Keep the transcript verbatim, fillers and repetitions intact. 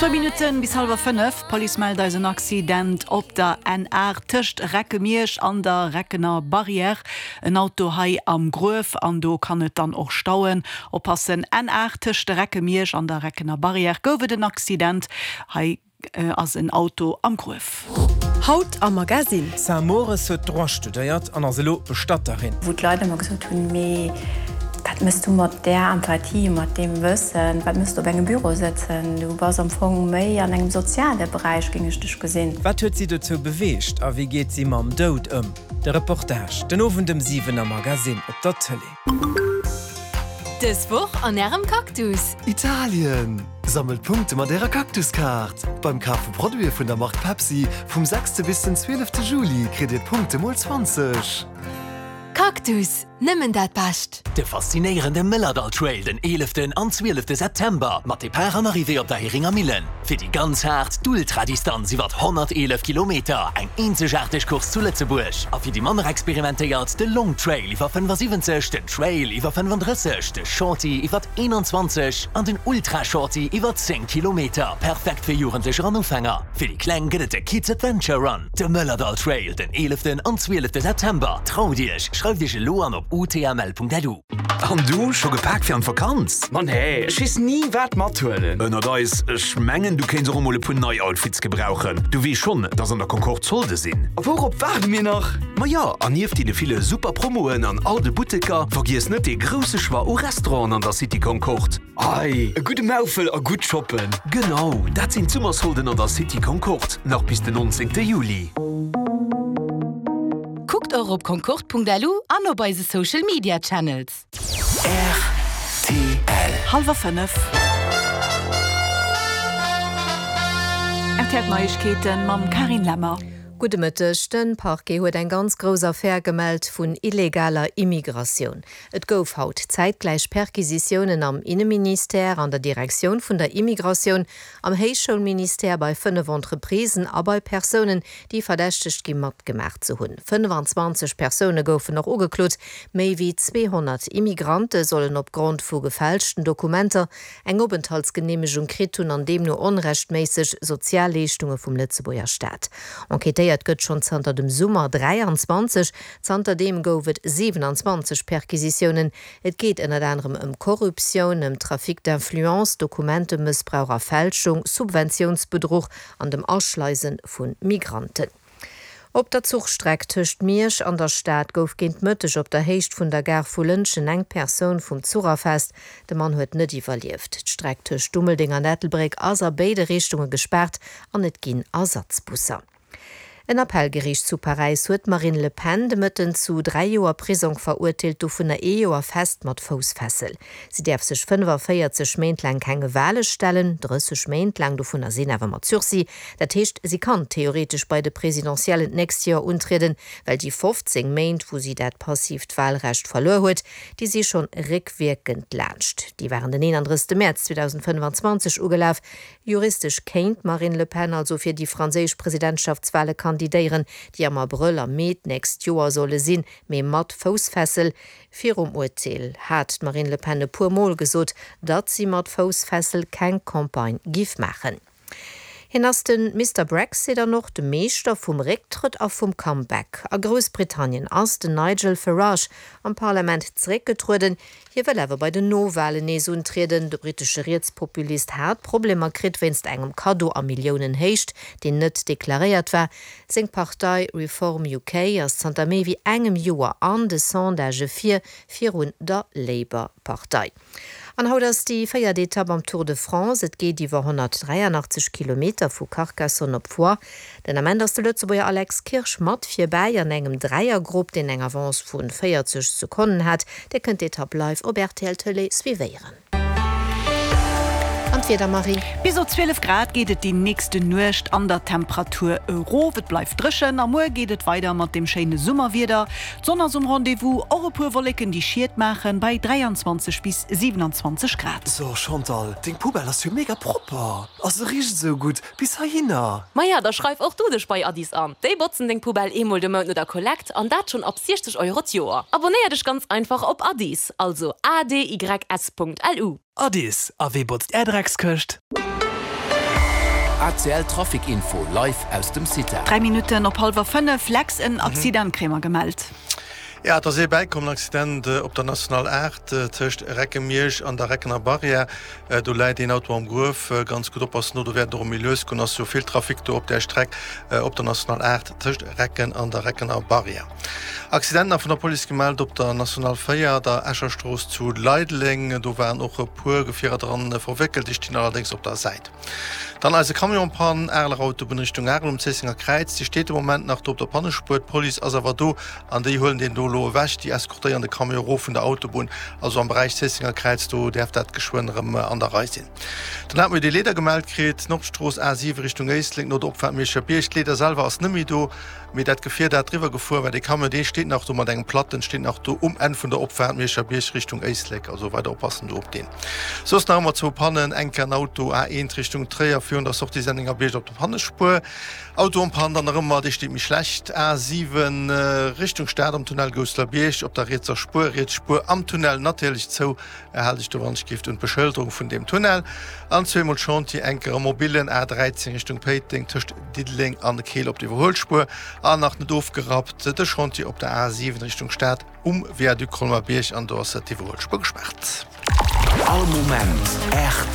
Zwou Minutten bis hallwer fënnef, D'Police mellt eis en Accident op der N aacht tëscht Recke-Miersch an der Reckener Barrière. En Auto hei am Gruef an do kann et dann och stauen. Oppassen, N aacht tëscht Recke-Miersch an der Reckener Barrière gouf et en Accident. Hei ass en Auto am Gruef. Haut am Magazine. D'Sam Mores huet Droit studéiert an ass elo Bestatterin. Wou d'Leit ëmmer gesot hunn, Mee wat méchs du mat där Empathie, mat deem Wëssen, wat méchs du op engem Büro sëtzen? Du bass am Fong méi an engem soziale Beräich, géing ech dech gesinn. Wat huet si dozou beweegt a wéi geet si mam Doud ëm? De Reportage den Owend ëm siwen am Magazine op der Tëlee. Dës Woch an Ärem Cactus. Italien! Sammelt Punkte mat Ärer Cactus-Kaart! Beim Kaf vu Produite vun der Mark Pepsi vum sechste bis den zwielefte Juli kritt Dir d'Punkte mol zwanzeg. Cactus, nëmmen dat Bescht! De faszinéierende Mëllerdall Trail den eeleften an zwielefte September mat Depart an Arrivée op der Heringer Millen. Fir déi ganz haart, d'Ultradistanz iwwert honnerteelef Kilometer, eng eenzegaarteg Course zu Lëtzebuerg. A fir déi manner experimentéiert, de Long Trail iwwer fënnefasiwwenzeg, den Trail iwwer fënnefandrësseg, de Shorty iwwer eenanzwanzeg an den Ultra Shorty iwwer zéng Kilometer. Perfekt fir Jugendlecher an Ufänger. Fir déi Kleng gëtt et de Kids Adventure Run. De Mëllerdall Trail den eeleften an zwielefte September. Traut Iech, schreift Iech elo an op utml.lu. An du, scho gepak fir an d'Vakanz? Ma nee, ech weess ni wat mathuelen. Ënnert eis, ech mengen du kéints och emol e puer nei Outfits gebrauchen. Du weess schonn, dass an der Concorde Solde sinn. A wourop waarde mir nach? Ma jo, an nieft deene ville super Promoen an all de Butteker, vergiess net dee grousse Choix u Restauranten an der City Concorde. Ei, e gudde Maufel a gutt shoppen. Genau, dat sinn d'Summersolden an der City Concorde, nach bis den nonzéngte Juli. Kuckt och op concorde.lu an op eise Social Media Channels. Rtl. Hallwer fënnef. Rtl Neiegkeeten mam Carine Lemmer. Gudde Mëtteg. De Parquet huet eng ganz grouss Affär gemellt vun illegaler Immigratioun. Et gouf haut zäitgläich Perquisitiounen am Inneministère, an der Direktioun vun der Immigratioun, am Héichschoulministère, bei fënnef Entreprisen a bei Persounen, déi verdächtegt gi matgemaach ze hunn. fënnefanzwanzeg Persoune goufen och ugeklot. Méi wéi zweehonnert Immigrante sollen opgrond vu gefälschten Dokumenter eng Openthaltsgeneemegung kritt hunn an deemno onrechtméisseg Sozialleeschtunge vum Lëtzebuerger Staat. Enquêtéiert gëtt schonn zanter dem Summer dräianzwanzeg. Zanterdeem gouf et siwenanzwanzeg Perquisitiounen. Et geet ënnert anerem ëm Korruptioun, ëm Trafic d'influence, Dokumentemëssbrauch a Fälschung, Subventiounsbedruch an dem Aschleise vu Migranten. Op der Zuchstreck tëscht Miersch an der Stad gouf géint Mëtteg op der Héicht vun der Gare vu Lëntgen eng Persoun vum Zuch erfaasst. De Mann huet net iwwerlieft. D'Streck tëscht Dummeldeng an Ettelbréck ass a béide Richtunge gespaart an et ginn Ersatzbusser. En Appellgeriicht zu Paräis huet d'Marine Le Pen de Mëtten zu dräi Joer Prisong verurteelt, dovunner ee Joer fest mat Foussfessel. Si däerf sech fënnefaféierzeg Méint laang kenge Wale stellen, drësseg Méint laang dovunner sinn awer mat Sursis. Dat heescht, si kann theoretesch bei de Presidentiellen d'nächst Joer untrieden, well déi fofzéng Méint, wou si dat passiivt Walrecht verluer huet, déi si schonn réckwierkend laanscht. Déi waren den eenandrëssegste Mäerz zweedausendfënnefanzwanzeg ugelaf. Juristesch kéint d'Marine Le Pen also fir déi franséisch Presidentschaftswale kandidéieren, déi am Abrëll a Mee d'nächst Joer solle sinn, mee mat Foussfessel. Virum Urteel hat d'Marine Le Pen e puer Mol gesot, datt si mat Foussfessel keng Campagne giff maachen. Hien ass de Mister Brexit an och de Meeschter vum Récktrëtt a vum Comeback. A Groussbritannien ass den Nigel Farage am Parlament zeréckgetrueden. Hie wëll awer bei den Nowalen nees untrieden. De brittesche Rietspopulist hat Problemer kritt wéinst engem Kaddo a Milliounenhéicht, deen net deklaréiert war. Seng Partei Reform U K ass zanter méi wéi engem Joer an de Sondagë vir, virun der Labour-Partei. An haut ass déi véiert Etapp am Tour de France. Et geet iwwer honnertdräianachtzeg Kilometer vu Carcassonne op Foix. Den Ament ass de Lëtzebuerger Alex Kirsch mat virbäi an engem Dräiergrupp, deen eng Avance vu véierzeg Sekonnen hat. Dir kënnt d'Etapp live op R T L Tëlee suivéieren. An d'Wieder, Marie? Bis op zwielef Grad geet et déi nächste Nuecht an der Temperatur erof. Et bleift dréchen a muer geet et weider mat dem schéine Summerwieder. D'Sonn ass um Rendez-vous, och e puer Wolleken déi Schiet maachen, bei dräianzwanzeg bis siwenanzwanzeg Grad. So Chantal, deng Poubelle ass jo mega propper a se richt esou gutt bis heihinner. Maja, da schreif och du dech bei Adys an. Déi botzen deng Poubelle eemol de Mount no der Kollekt an dat schonn ab siechzeg Euro d'Joer. Abonéier dech ganz einfach op Adys, also A D Y S Punkt L U. Adys, a wee botzt är Dreckskëscht? A C L Trafic Info live aus dem CITA. Dräi Minutten op hallwer fënnef, Lex, en Accident kréie mer gemellt. Ja, et ass ee bäikomm, en Accident op der National aacht tëscht Recke-Miersch an der Reckener Barrière. Do läit een Auto am Gruef. Ganz gutt oppassen do, do wäert et och méi lues goen, ass jo vill Trafic do op där Streck op der National aacht tëscht Recken an der Reckener Barrière. Accident nach vun der Police gemellt op der National véier, der Escher Strooss zu Leideleng. Do waren och e puer Gefierer dran verwéckelt, déi stinn allerdéngs op der Säit. Dann eise Camion Pann, Areler Autobunn Richtung Arel um Zéissenger Kräiz. Déi steet de Moment nach do op der Pannespuer. D'Police ass awer do an déi huelen deen do elo ewech. Déi eskortéieren de Camion erof vun der Autobunn. Also am Beräich Zéissenger Kräiz, do däerf dat geschwënn erëm an der Rei sinn. Dann hate mir déi Leeder gemellt kritt, Nordstrooss A siwe Richtung Éislek no der Opfaart Mierscher Bierg. D'Leeder selwer ass net méi do, mee dat Gefier dat driwwer gefuer war, dee Camion, dee steet nach do mat engem Platten, steet nach do um Enn vun der Opfaart Mierscher Bierg Richtung Éislek. Also weider oppassen do op deen. Soss nach ëmmer zwou Pannen, eng Kéier en Auto A eent Richtung Tréier virun der Sortie Sennengerbierg op der Pannespuer. Auto en panne dann nach ëmmer, dee steet méi schlecht, A siwen Richtung Stad am Tunnel Gousselerbierg op der rietser Spuer, riets Spuer am Tunnel natierlech zou, hal dech do wannechgift un d'Beschëlderung vun deem Tunnel. An zweemol Chantier, eng Kéier am Mobillen A dräizéng Richtung Péiteng tëscht Diddeleng an Keel op der Iwwerhuelspuer an nach net ofgerappt de Chantier op der A siwen Richtung Stad um Viaduc Colmar-Bierg an do ass d'Iwwerhuelspuer gespaart. All Moment R T.